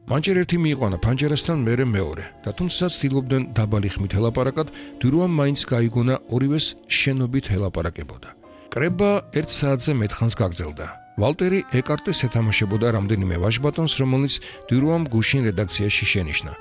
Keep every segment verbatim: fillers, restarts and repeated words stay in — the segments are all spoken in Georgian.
მან ჯერ ერთი მიიყვანა ფანჯერასთან, მერე მეორე და თუმცა ცდილობდნენ დაბალი ხმით ელაპარაკად, დირუამ მაინც გაიგონა ორივეს შენობით ელაპარაკებოდა. კრება ერთ საათზე მეტხანს გაგრძელდა. ვალტერი ეკარტეს ეთამაშებოდა რამდენიმე ვაჟბატონს, რომელნიც დირუამ გუშინ რედაქციაში შენიშნა.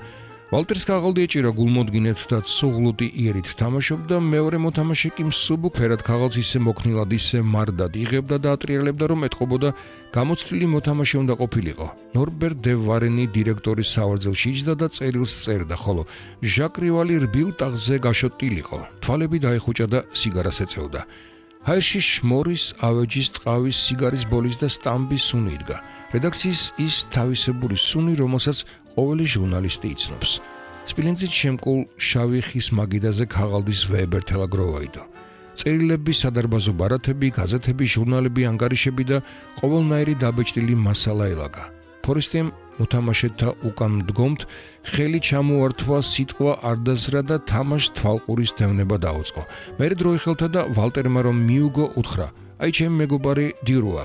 ვალტერს ქაღალდი ეჭირა გულმოდგინედ და ცუღლუტი იერით თამაშობდა, მეორე მოთამაშე კი მსუბუქ ფერად ქაღალდს ისე მოქნილად, ისე მარდად იღებდა და ატრიალებდა, რომ ეთყობოდა გამოცდილი მოთამაშე უნდა ყოფილიყო. ნორბერტ დე ვარენი დირექტორის სავარძელში იჯდა და წერილს წერდა, ხოლო ჟაკ რივალი რბილ ტაღზე გაშოტილიყო. თვალები დაეხუჭა და სიგარას ეწეოდა. ჰაერში შმორის, ავეჯის, ტყავის, სიგარის ბოლის და სტამბის სუნი იდგა. რედაქციის ის თავისებური სუნი, რომელსაც ყოველი ჟურნალისტი იცნობს. სპილენძით შემკულ შავი ხის მაგიდაზე ქაღალდის ვეებერთელა გროვაიდო. წერილები, სადარბაზო ბარათები, გაზეთები, ჟურნალები, ანგარიშები და ყოველნაირი დაბეჭდილი მასალა ელაგა. ფორესტემ მოთამაშეთა უკან მდგომთ ხელი ჩამოართვა, სიტყვა არ დაზრა და თამაშ თვალყურის დევნება დაუწყო. მერე დრო იხელთა და ვალტერმა რომ მიუგო, უთხრა: "აი ჩემი მეგობარი დირუა."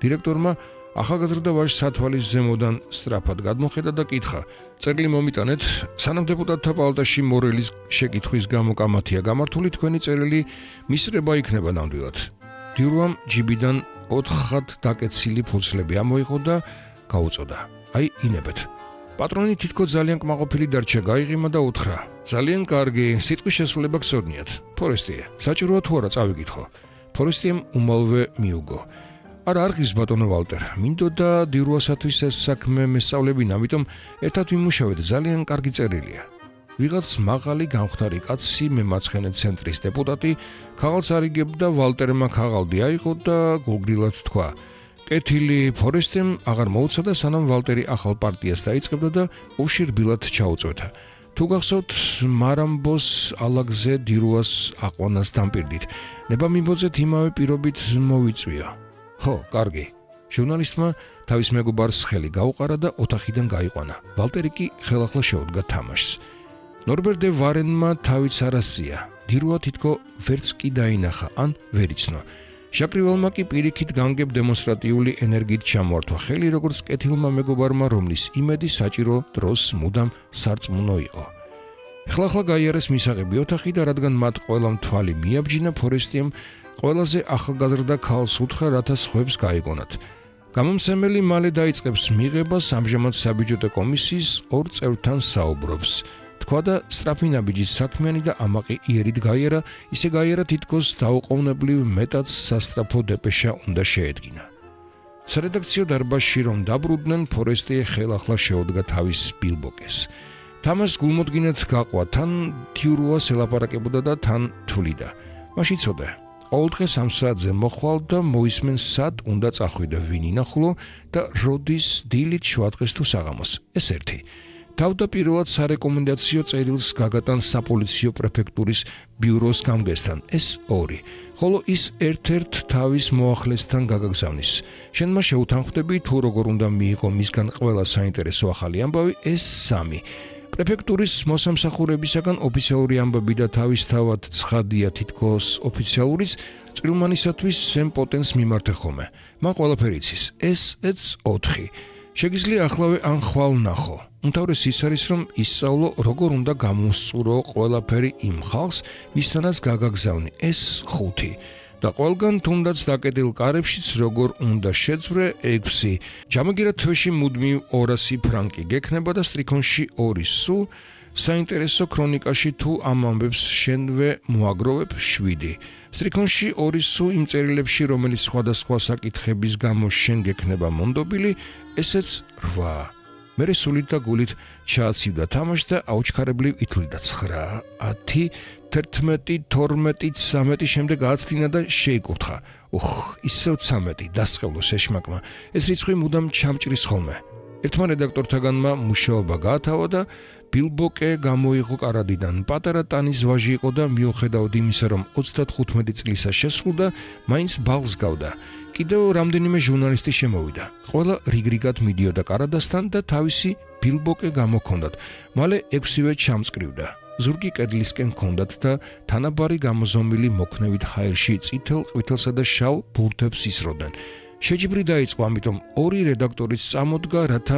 დირექტორმა ახალგაზრდა ვაჟს სათვალის ზემოდან სწრაფად გადმოხედა და კითხა: "წერილი მომიტანეთ, სანამ დეპუტატთა პალატაში მორელის შეკითხვის გამო კამათია გამართული, თქვენი წერილი მისრება იქნება ნამდვილად." დირუამ ჯიბიდან ოთხად დაკეცილი ფურცლები ამოიღო და გაუწოდა: "აი, ინებეთ." პატრონი თითქოს ძალიან კმაყოფილი დარჩა, გაიღიმა და უთხრა: "ძალიან კარგი, სიტყვის შესრულება გსურნიათ. ფორესტიე, საჭიროა თუ არა წავიკითხო?" ფორესტიემ უმალვე მიუგო: "არა, არ ღირს ბატონო ვალტერ, მინდოდა დირუასათვის ეს საქმე მესწავლებინა, ამიტომ ერთად ვიმუშავეთ, ძალიან კარგი წერილია." ვიღაც მაღალი გამხდარი კაცი, მემარცხენე ცენტრის დეპუტატი, ქაღალდს არიგებდა, ვალტერმა ქაღალდი აიღო და გულგრილად თქვა: "კეთილი." ფორესტემ აღარ მოუცადა, სანამ ვალტერი ახალ პარტიას დაიწყებდა და ოვში რბილად ჩაუწვეთა. "თუ გახსოვთ, მარამბოს ალაგზე დირუას აყვანას დამპირდით. ნება მიმბოძეთ იმავე პირობით მოვიწვია." "ხო, კარგი." ჟურნალისტმა თავის მეგობარს ხელი გაუყარა და ოთახიდან გაიყვანა. ვალტერი კი ხელახლა შეუდგა თამაშს. ნორბერტ დე ვარენმა თავიც არასწია. დირუა თითქო ვერც კი დაინახა, ან ვერ იცნო. ჟაკ რივალმა კი პირიქით განგებ დემონსტრატიული ენერგიით ჩამოართვა ხელი, როგორც კეთილმა მეგობარმა, რომლის იმედი საჭირო დროს მუდამ სარწმუნო იყო. ხლახლა გაიარეს მისაღები ოთახი და რადგან მათ ყველამ თვალი მიაბჯინა, ფორესტიემ ყველაზე ახალგაზრდა ქალს უთხრა, რათა სხვებს გაიგონათ. გამომცემელი მალე დაიწყებს მიღებას, ამჟამად საბიუჯეტო კომისიის ორ წევრთან საუბრობს. თქვა და სწრაფი ნაბიჯის საქმიანი და ამაყი იერით გაიარა, ისე გაიარა თითქოს დაუყოვნებლივ მეტად სასწრაფო დეპეშა უნდა შეედგინა. სარედაქციო დარბაზში რომ დაბრუნდნენ, ფორესტიე ხელახლა შეუდგა თავის ბილბოკეს. თამაშს გულმოდგინედ გაყვა, თან დირუას ელაპარაკებოდა და თან თვლიდა. მაშ იცოდა, ყოველდღე სამ საათზე მოხვალ და მოისმენ სად უნდა წახვიდე, ვინ ინახულო და როდის დილით, შუადღეს თუ საღამოს. ეს ერთი. თავდაპირველად სარეკომენდაციო წერილს გაგატან საპოლიციო პრეფექტურის ბიუროს გამგესთან. ეს ორი. ხოლო ის ერთ-ერთ თავის მოახლესთან გაგაგზავნის. შენმა შეუთანხმდები, თუ როგორ უნდა მიიღო მისგან ყველა საინტერესო ახალი ამბავი. ეს სამი. პრეფექტურის მოსამსახურებისაგან ოფიციალური ამბები და თავისთავად ცხადია თითქოს ოფიციალურიც წვრილმანისათვის სემპოტენს მიმართე ხოლმე. მან ყველაფერი იცის. ეს ეც ოთხი. შეგიძლია ახლავე ან ხვალ ნახო. უმთავრესი ის არის, რომ ისწავლო, როგორ უნდა გამოსწურო ყველაფერი იმ ხალხს, ვისთანაც გაგაგზავნი. ეს ხუთი. და ყველგან თუნდაც დაკეტილ კარებშიც როგორ უნდა შეძვრე. ექვსი. ჯამაგირა თვეში მუდმივ ორასი ფრანკი გექნება და სტრიქონში ორი სულ. საინტერესო ქრონიკაში თუ ამ ამბებს შენვე მოაგროვებ. შვიდი. სტრიქონში ორი სულ იმ წერილებში, რომელიც სხვადასხვა საკითხების გამო შენ გექნება მონდობილი. ესეც რვა. მერე სულით და გულით ჩააცივდა თამაშს და აუჩქარებლივ ითვლიდა ცხრა, ათი, თერთმეტი, თორმეტი, ცამეტი, შემდეგ ააცდინა და შეიკურთხა. უხ, ისევ ცამეტი, დასყევლოს ეშმაკმა. ეს რიცხვი მუდამ ჩამჭრის ხოლმე. ერთმა რედაქტორთაგანმა მუშაობა გაათავა და ბილბოკე გამოიღო კარადიდან. პატარა ტანის ვაჟი იყო და მიუხედავად იმისა, რომ ოცდათხუთმეტი წლისა შესრულდა, მაინც ბაღს გავდა. კიდევ რამდენიმე ჟურნალისტი შემოვიდა. ყველა რიგრიგად მიდიოდა კარადასთან და თავისი ბილბოკე გამოქონდათ. მალე ექვსივე ჩამწკრივდა. ზურგი კედლისკენ ჰქონდათ და თანაბარი გამოზომილი მოქნევით ჰაერში წითელ, ყვითელსა და შავ ბურთებს ისროდნენ. შეჯიბრი დაიწყო, ამიტომ ორი რედაქტორიც წამოდგა, რათა